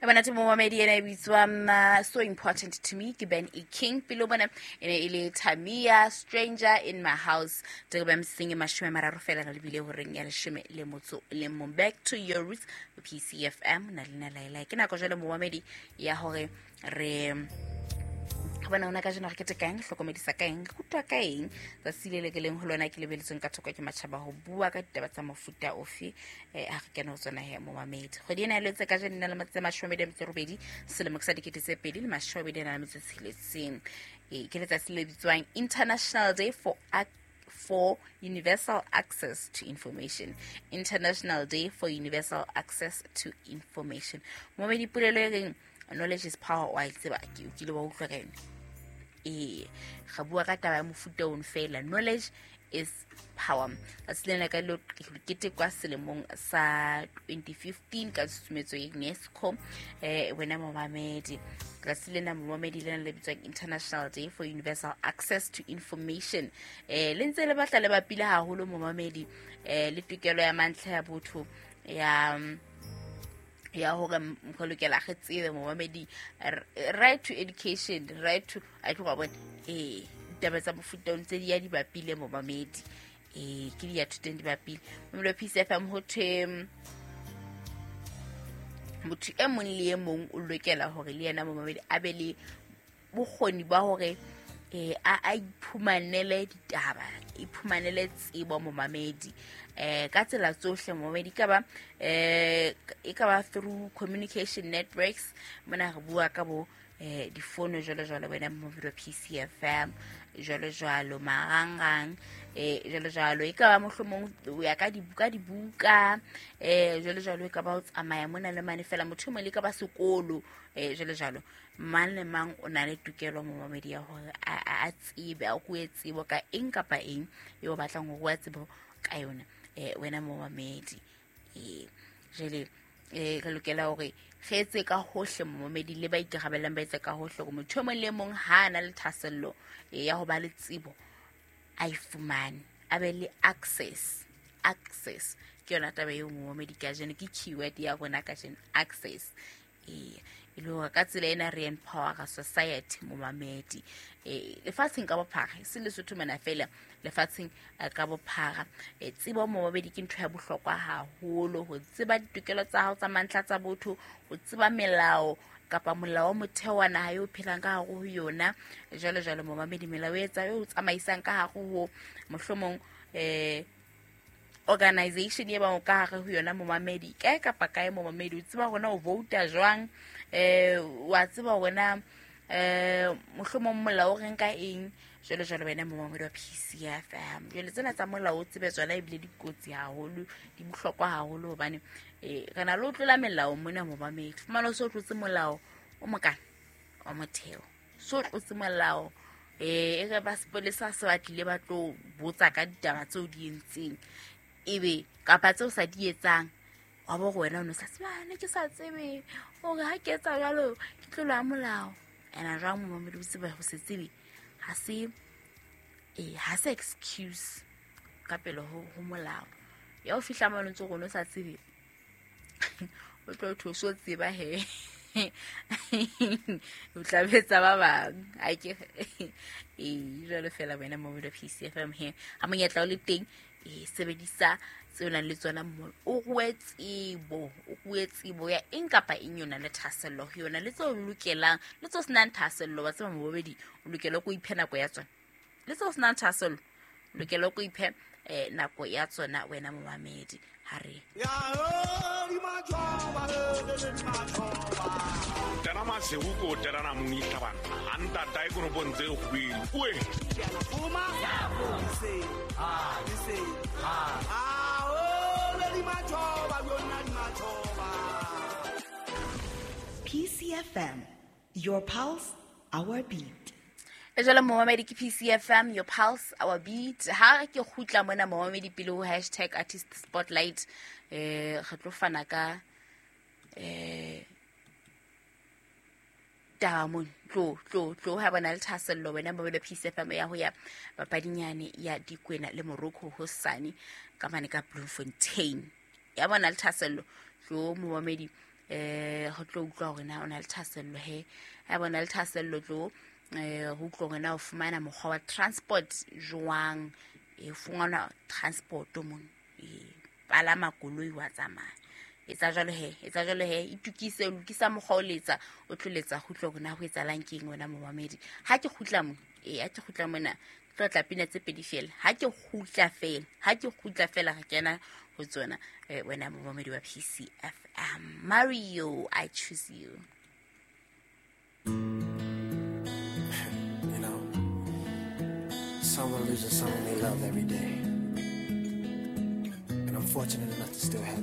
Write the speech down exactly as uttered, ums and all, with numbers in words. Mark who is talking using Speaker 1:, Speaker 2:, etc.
Speaker 1: E bona momamedi, ena e bitswa "So Important to Me" ke Ben E King. Pele bona e ne e le Tamia, "Stranger in My House". Tebe msing e mashome mararo fela re lebile horeng ya leshome le motso le mong. Back to Your Roots, P C F M, na lena laela. Ke nako jwale, momamedi, ya hore re bona ona kajeno re kete kaeng, hlokomedisa ka eng, re rutwa ka eng tsatsi le le ke leng ho lona, ke lebeletsweng ka thoko ke matjhaba ho bua ka ditaba tsa mofuta ofe. um ha re kene ho tsona he, momamedi. Kgwedi ena e letse kajeno na le matsatsi a mashome a mabedi a metso e robedi, selemo ke sa dikete tse pedi le mashome a mabedi a na le metso e tsheletseng. Ee, ke letsatsi le bitswang International Day for for Universal Access to Information. International Day for Universal Access to Information. Momamedi, polelo e reng "knowledge is power" wa e tseba, ke o kile wa utlwa ka yone. Ee, ga bua ka taba ya mofuta ono fela, knowledge is power. Tsatsi lena ka lo ketekwa selemong sa twenty fifteen ka tshusumetso ya UNESCO. eh wena momamedi, tsatsi lena, momamedi, lena le bitswang International Day for Universal Access to Information, eh le ntse le batla le bapile haholo, momamedi, eh le tokelo ya mantlha ya botho ya ya hore re lokela re tsebe, momamedi, right to education, right to a tloga bona. Ee, ditaba tsa mofuta o ntse di ya di bapile, momamedi. Ee, ke di ya thuteng di bapile, momamedi wa P C F M. Ho thwe motho e mong le e mong o lokela hore le yena, momamedi, a be le bokgoni ba hore eh a a iphumanele ditaba, iphumanele tsebo, momamedi, eh ka tsela tsohle, momamedi. Ka ba eh e ka ba through communication networks, mona re bua ka bo eh difono jwalo jwalo, wena momamedi wa P C F M, jwalo jwalo, marangrang, eh jwalo jwalo. E ka ba mohlomong o ya ka dibuka dibuka eh jwalo jwalo. E ka ba o tsamaya mona le mane fela, motho e mong le ka ba sekolo, eh jwalo jwalo. Mang le mang o na le tokelo, momamedi, ya hore a tsebe, a rue tsebo ka eng kapa eng eo batlang ho rua tsebo ka yona, eh wena momamedi. eh jwale eh re lokela hore re etse ka hohle, momamedi, le ba ikarabellang ba etse ka hohle hore motho e mong le mong ha a na le thahasello ya ho ba le tsebo, a e fumane, a be le access. Access ke yona taba eo, momamedi, kajeno ke keyword ya rona kajeno, access. Ee, e le hore ka tsela ena re empowera society, momamedi, e lefatsheng ka bophara, e se Lesotho mona fela, lefatsheng ka bophara. E tsebo, momamedi, ke ntho ya bohlokwa haholo, ho tseba ditokelo tsa hao tsa mantlha tsa botho, ho tseba melao kapa molao wa motheo wa naha eo phelang ka hare ho yona, jwalo jwalo, momamedi. Melao e etsa e o tsamaisang ka hare ho mohlomong eh organization e bang o ka hare ho yona, momamedi, kae kapa kae, momamedi. O tseba hore na o vouta jwang, eh wa tseba hore na eh mohlomong molao o reng ka eng, jwalo jwalo, wena momamedi wa P C F M. Jwale tsena tsa molao o tsebe tsona, ebile dikotsi haholo, di bohlokwa haholo, hobane eh re na le ho tlola melao mona, momamedi. Fumana o so tlotse molao o mokana wa motheo, so tlotse molao, eh e re ba sepolesa se ba tlile ba tlo botsa ka ditaba tseo di entseng, ebe kapa tseo sa di etsang, wa bo gore wena o ne sa tsebe, ne ke sa tsebe hore ha ke etsa jwalo ke tlolo ya molao. Ena jwang, momamedi? O tsebe ho se tsebe ha se eh ha se excuse ka pele ho ho molao. Ya o fihla mo ntse go no sa tsebe, o tlo tho so tseba he, o tla betsa ba bang a ke. Ee, jwalo fela, wena momamedi wa P C F M, he ha monyetla o le teng, e sebedisa tseo nang le tsona mo o rue tsebo, o rue tsebo ya eng kapa eng yona le thahasello ho yona, le tseo lokelang le tseo senang thahasello. Wa tseba, mobobedi, o lokela ko iphe nako ya tsona, le tseo senang thahasello o lokela ko iphe eh, nako ya tsona, wena momamedi. Ha re
Speaker 2: Tena masihu ko terana mungi tabana anta dai kono bonze khubedu oe.
Speaker 3: Ah, ah, oh,
Speaker 4: P C F M, your pulse, our beat.
Speaker 1: E jalo, momamedi, ke P C F M, your pulse, our beat. Ha ke kgutla mona, momamedi, pele ho hashtag artist spotlight, eh re tlo fana ka eh taba mona. Tlo tlo tlo ha bona le thahasello, wena momamedi P C F M, ya ho ya papadinyane ya Dikwena le Morocco hosane ka mane ka Bloemfontein. Ya bona le thahasello, tlo, momamedi. Eh ho tlo utlwa hore na o na le thahasello he. Ha bona le thahasello tlo eh ho utlwa hore na o fumana mokgwa wa transport jwang. E fumana transport mon e palama koloi wa tsamaya. Etsa jwalo he, etsa jwalo he, itukise, lokisa mokgwa o letsa, o tlo letsa go utlwa hore na ho etsahalang keng wena momamedi. Ha ke kgutla mo, eh ha ke kgutla mona, ke tlo tla pina tse pedi fela. Ha ke kgutla fela, ha ke kgutla fela re kena ho tsona eh, wena momamedi wa P C F M. Mario, I choose you.
Speaker 5: You know, someone loses someone they love every day. And I'm fortunate enough to still have you.